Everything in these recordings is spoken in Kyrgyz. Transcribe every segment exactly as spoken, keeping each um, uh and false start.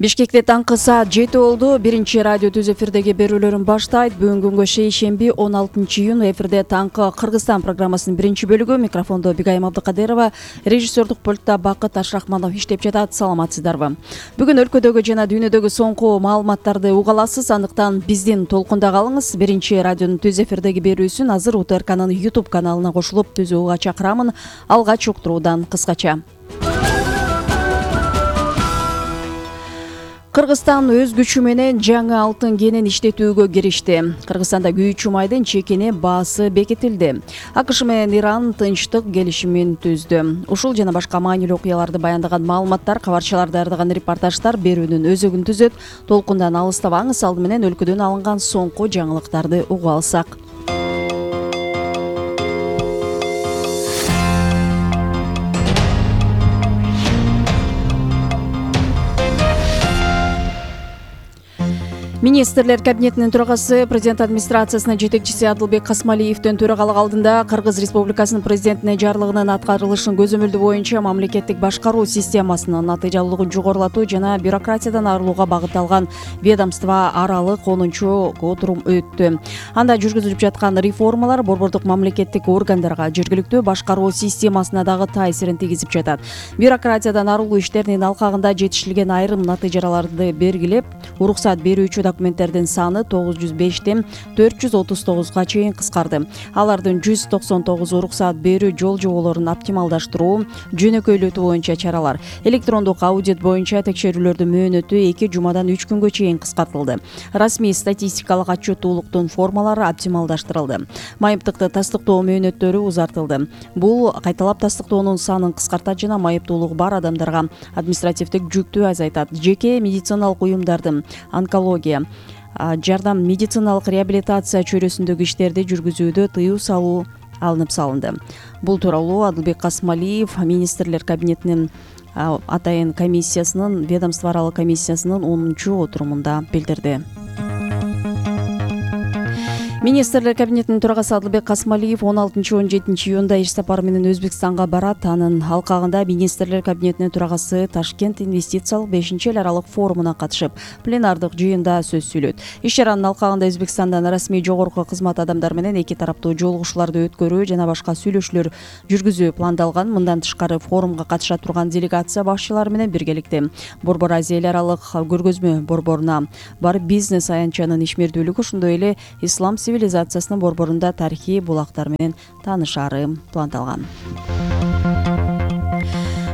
Бишкекте таңкы саат жети болду. Биринчи радио түз эфирдеги берүүлөрүн баштайт. Бүгүн күнгө шейшемби он алтынчы июнь эфирде таңкы Кыргызстан программасынын биринчи бөлүгү. Микрофондо Бигайым Абдыкадырова, режиссердук пультта Бакыт Ашрахманов иштеп жатат. Саламатсыздарбы? Бүгүн өлкөдөгү жана дүйнөдөгү соңку маалыматтарды уга аласыз. Андыктан биздин толкунда калыңыз. Биринчи радионун түз эфирдеги берүүсүн азыр УТРКнын YouTube каналына кошулуп түзүүгө чакырамын. Алгач уктуруудан кыскача. Кыргызстан өз күчү менен жаңы алтын кенин иштетүүгө киришти. Кыргызстанда күйүүчү майдын чекини баасы бекитилди. АКШ менен Иран тынчтык келишимин түздү. Ушул жана башка маанилүү окуяларды баяндаган маалыматтар, кабарчылар даярдаган репортаждар берүүнүн өзөгүн түзөт. Толкундан алыстабаңыз, алды менен өлкөдөн алынган соңку жаңылыктарды угуп алсак. Министрлер кабинетинин төрагасы, президент администрациясынын жетекчиси Адылбек Касмалиевдин төрагалык алдында Кыргыз Республикасынын президентине жарлыгынын аткарылышын көзөмөлдөө боюнча мамлекеттик башкаруу системасынын натыйжалуулугун жогорулатуу жана бюрократиядан арылууга багытталган ведомство аралык онунчу отурум өттү. Анда жүргүзүлүп жаткан реформалар борбордук мамлекеттик органдарга, жергиликтүү башкаруу системасына дагы таасирин тийгизип жатат. Бюрократиядан арылуу иштеринин алкагында жетишилген айрым натыйжаларды белгилеп, уруксат берүүчү документтердин саны тогуз жүз бештен төрт жүз отуз тогузга чейин кыскарды. Алардын жүз токсон тогузу уруксат берүү жол жоболорун оптималдаштыруу, жөнөкөйлөтүү боюнча чаралар. Электрондук аудит боюнча текшерүүлөрдүн мөөнөтү эки жумадан үч күнгө чейин кыскартылды. Расмий статистикалык отчеттуулуктун формалары оптималдаштырылды. Майыптыкты тастыктоо мөөнөттөрү узартылды. Бул кайталап тастыктоонун санын кыскартат жана майыптуулугу бар адамдарга административдик жүктү азайтат. Жеке медициналык уюмдардын онкология, жардам, медициналык реабилитация чөйрөсүндөгү иштерди жүргүзүүдө тыюу салуу алынып салынды. Бул тууралуу Адылбек Касмалиев министрлер кабинетинин атайын комиссиясынын, ведомство аралык комиссиясынын онунчу отурумунда билдирди. Министрлер кабинетинин төрагасы Адылбек Касмалиев он алтынчы он жетинчи июнда иш сапары менен Өзбекстанга барат. Анын алкагында министрлер кабинетинин төрагасы Ташкент инвестициялык бешинчи эл аралык форумуна катышып, пленардык жыйында сөз сүйлөйт. Иш чаранын алкагында Өзбекстандан расмий жогорку кызмат адамдары менен эки тараптуу жолугушууларды өткөрүү жана башка сүйлөшүүлөр жүргүзүү пландалган. Мындан тышкары форумга катыша турган делегация башчылары менен биргеликте Борбор Азия эл аралык көргөзмө борборуна барып, бизнес аянтчанын ишмердүүлүгү, ошондой эле ислам цивилизациясынын борборунда тарыхый булактар менен таанышаары пландалган.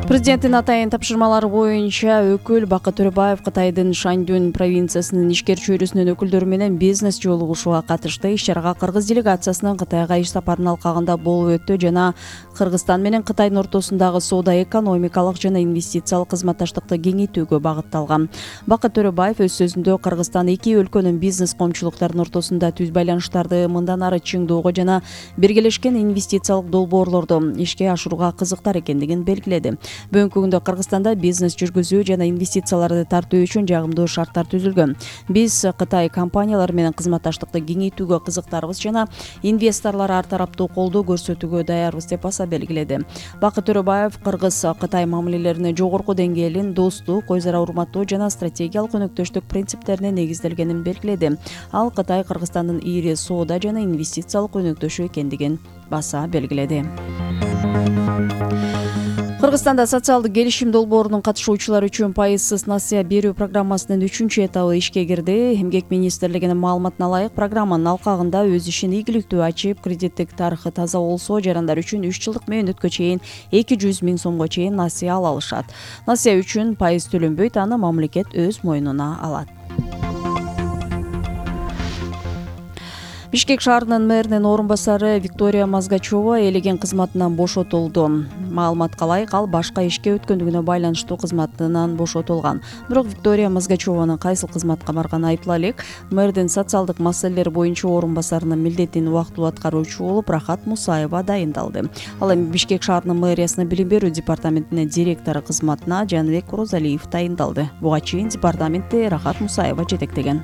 Президенттин атайын тапшырмалары боюнча өкүл Бакыт Төрөбаев Кытайдын Шаньдун провинциясынын ишкер чөйрөсүнүн өкүлдөрү менен бизнес жолугушууга катышты. Иш чарага Кыргыз делегациясынын Кытайга иш сапарынын алкагында болуп өттү жана Кыргызстан менен Кытайдын ортосундагы соода, экономикалык жана инвестициялык кызматташтыкты кеңейтүүгө багытталган. Бакыт Төрөбаев өз сөзүндө Кыргызстан эки өлкөнүн бизнес коомчулуктарынын ортосунда түз байланыштарды мындан ары чыңдоого жана биргелешкен инвестициялык долбоорлорду ишке ашырууга кызыктар экендигин белгиледи. Бүгүнкү күндө Кыргызстанда бизнес жүргүзүү жана инвестицияларды тартуу үчүн жагымдуу шарттар түзүлгөн. Биз Кытай компаниялары менен кызматташтыкты кеңейтүүгө кызыктарбыз жана инвесторлор ар тараптуу колдоо көрсөтүүгө даярбыз деп баса белгиледи. Бакыт Төрөбаев Кыргыз-Кытай мамилелеринин жогорку деңгээлин достук, өз ара урматтоо жана стратегиялык өнөктөштүк принциптерине негизделгенин белгиледи. Ал Кытай Кыргызстандын ири соода жана инвестициялык өнөктөшү экендигин баса белгиледи. Кыргызстанда социалдык келишим долбоорунун катышуучулары үчүн пайызсыз насыя берүү программасынын үчүнчү этабы ишке кирди. Эмгек министрлигинин маалыматына ылайык, программанын алкагында өз ишин ийгиликтүү ачып, кредиттик тарыхы таза болсо, жарандар үчүн үч жылдык мөөнөткө чейин эки жүз миң сомго чейин насыя ала алышат. Насыя үчүн пайыз төлөнбөйт, аны мамлекет өз мойнуна алат. Бишкек шаарынын мэринин орун басары Виктория Мазгачева элеген кызматынан бошотулду. Маалыматка ылайык, ал башка ишке өткөндүгүнө байланыштуу кызматынан бошотулган. Бирок Виктория Мазгачеванын кайсыл кызматка барганы айыпла элек. Мэрдин социалдык маселелер боюнча орун басарынын милдетин убактылуу аткаруучу болуп Рахат Мусаева дайындалды. Ал эми Бишкек шаарынын мэриясынын билим берүү департаментинин директору кызматына Жаныбек Розалиев дайындалды. Буга чейин департаментти Рахат Мусаева жетектеген.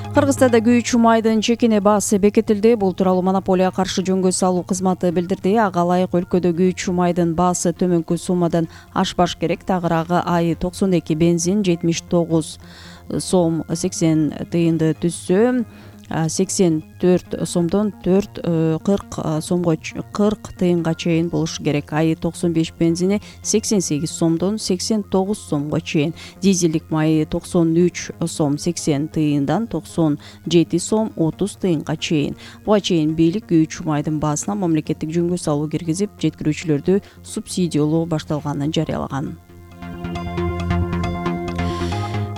Кыргызстанда күйүүчү майдын чекине баасы бекитилди. Бул тууралуу монополияга каршы жөнгө салуу кызматы билдирди. Ага ылайык өлкөдө күйүүчү майдын баасы төмөнкү суммадан ашпаш керек. Тагыраагы ай токсон эки бензин жетимиш тогуз сом сексен тыйынды түзсө, сексен төрт сомдон төрт кырк сомго кырк тыйынга чейин болушу керек. Ай токсон беш бензини сексен сегиз сомдон сексен тогуз сомго чейин. Дизелдик май токсон үч сом сексен тыйындан токсон жети сом отуз тыйынга чейин. Буга чейин бийлик күйүүчү майдын баасына мамлекеттик жөнгө салуу киргизип, жеткирүүчүлөрдү субсидиялоо башталганын жарыялаган.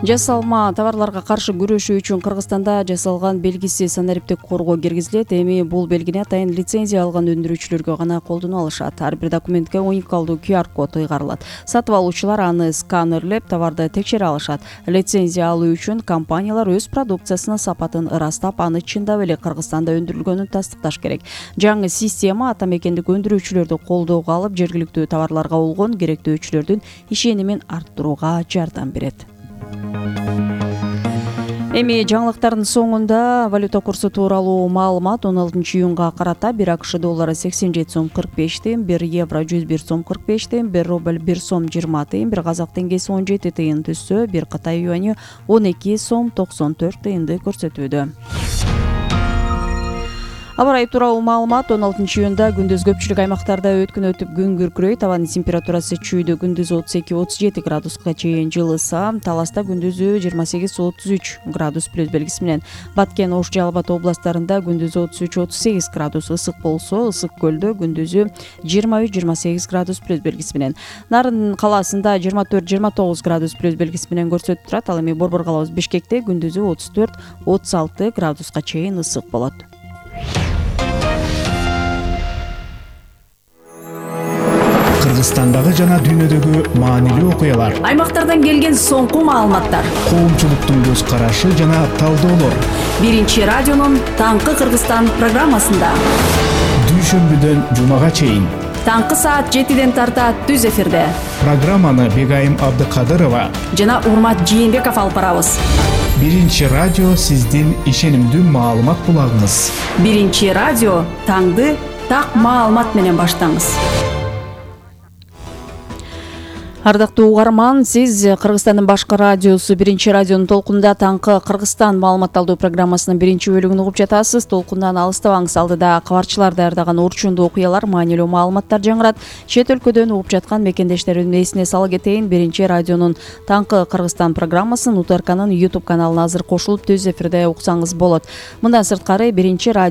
Жасалма товарларга каршы күрөшүү үчүн Кыргызстанда жасалган белгиси санариптик корго киргизилет. Эми бул белгини атайын лицензия алган өндүрүүчүлөргө гана колдоно алышат. Ар бир документке уникалдуу ку ар код ыйгарылат. Сатып алуучулар аны сканерлеп, товарды текшере алышат. Лицензия алуу үчүн компаниялар өз продукциясынын сапатын ырастап, аны чындап эле Кыргызстанда өндүрүлгөнүн тастыкташ керек. Жаңы система ата мекендик өндүрүүчүлөрдү колдоого алып, жергиликтүү товарларга болгон керектөөчүлөрдүн ишенимин арттырууга жардам берет. Эми жаңылыктардын соңунда валюта курсу тууралуу маалымат. он алтынчы июнга карата бир АКШ доллары сексен жети сом кырк беш тыйын, бир евро жүз бир сом кырк беш тыйын, бир рубль бир сом жыйырма тыйын, бир казак теңгеси он жети тыйын түзсө, бир Кытай юаню он эки сом токсон төрт тыйынды көрсөтүүдө. Аба ырайы тууралуу маалымат. он алтынчы июнда күндүз көпчүлүк аймактарда өткөн өтүп күн күркүрөйт. Абанын температурасы чүйдө күндүз отуз эки отуз жети градуска чейин жылыса, Таласта күндүзү жыйырма сегиз отуз үч градус плюс белгиси менен, Баткен, Ош, Жалал Абад областарында күндүзү отуз үч отуз сегиз градус ысык болсо, Ысык көлдө күндүзү жыйырма үч жыйырма сегиз градус плюс белгиси менен, Нарын калаасында жыйырма төрт жыйырма тогуз градус плюс белгиси менен көрсөтүп турат. Ал эми Борбор калабыз Бишкекте күндүзү отуз төрт отуз алты градуска чейин ысык болот. Кыргызстандагы жана дүйнөдөгү маанилүү окуялар, Аймактардан келген соңку маалыматтар, коомчулуктун көз карашы жана талдоолор. Биринчи радионун Таңкы Кыргызстан программасында. Дүйшөмбүдөн жумага чейин. Таңкы саат жетиден тарта түз эфирде. Программаны Бегайым Абдыкадырова жана Урмат Жээнбеков алып барабыз. Биринчи радио сиздин ишенимдүү маалымат булагыңыз. Биринчи радио таңды так маалымат менен баштаңыз. Ардактуу угарман, сиз Кыргызстандын башкы радиосу Биринчи радионун толкунда Таңкы Кыргызстан маалымат алуу программасынын биринчи бөлүгүн угуп жатасыз. Толкундан алыстабаңыз, алдыда кабарчылар даярдаган орчундуу окуялар, маанилүү маалыматтар жаңырат. Чет өлкөдөн угуп жаткан мекендештеримдин эсине сала кетейин. Биринчи радионун Таңкы Кыргызстан программасын УТРКнын YouTube каналына азыр кошулуп түз эфирде уксаңыз болот. Мындан сырткары Биринчи радио